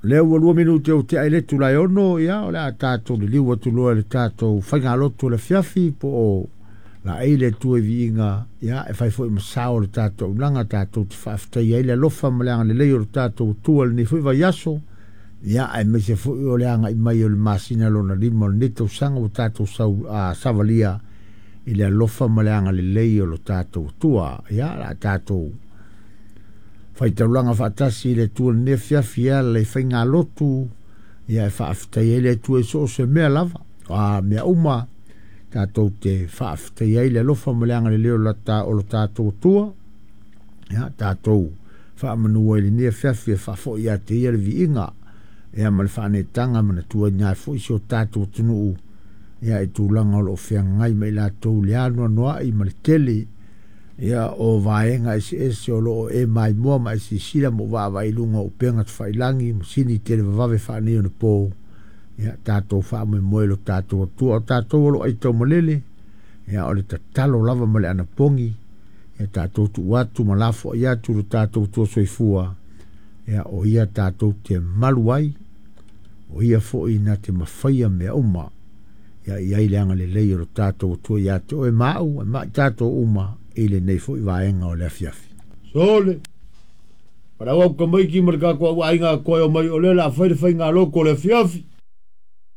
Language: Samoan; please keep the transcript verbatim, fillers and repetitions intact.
Lea ua lua minute o tea i le itula e ono, ia, o le a tatou liliu atu loa i le tatou faigalotu o le afiafi po o laei le Atua i viiga, ia, e fai foi ma sao o le tatou auaunaga, tatou te faafetaia ai le alofa ma le agalelei o le tatou Atua i lenei foi vaiaso, ia, aemaise foi o le agai mai o le masina lona lima o lenei tausaga ua tatou sau, a, savalia i le alofa ma le agalelei o lo tatou Atua. Ia, o le a tatou faitaulaga faatasi i le Atua i lenei afiafi e ala i faigalotu, ia, e faafetaia ai le Atua i so o se mea lava, a mea uma tatou te faafetaia ai le alofa ma le agalelei o lo tatou Atua. Ia, tatou faamanua i lenei afiafi e faafoi ia te ia le viiga, ia, ma le faaneetaga manatuaina ai foi si o tatou atunuu, ia, i tulaga o lo o feagai ma i latou le anoanoai ma le tele, ia, o vaega eseese o lo o e maimoa ma e sisila ma vaavaai i luga o upega tafailagi masini televavave faaneionapo. Ia, tatou faamoemoe i lo tatou Atua, o tatou o lo o aitaumalele, ia, o le tatalo lava ma le anapogi, ia, tatou tuu atu ma lafoai atu lo tatou Atua soifua, ia, o ia tatou te malu ai, o ia foi na te mafaia mea uma. Ia, i ai le agalelei o lo tatou Atua ia te oe ma au, ma i tatou uma i lenei foi vaega o le afiafi. Sole, palau au kamaiki ma le tatou aiga koe o mai o le la fai le faigalotu o le afiafi.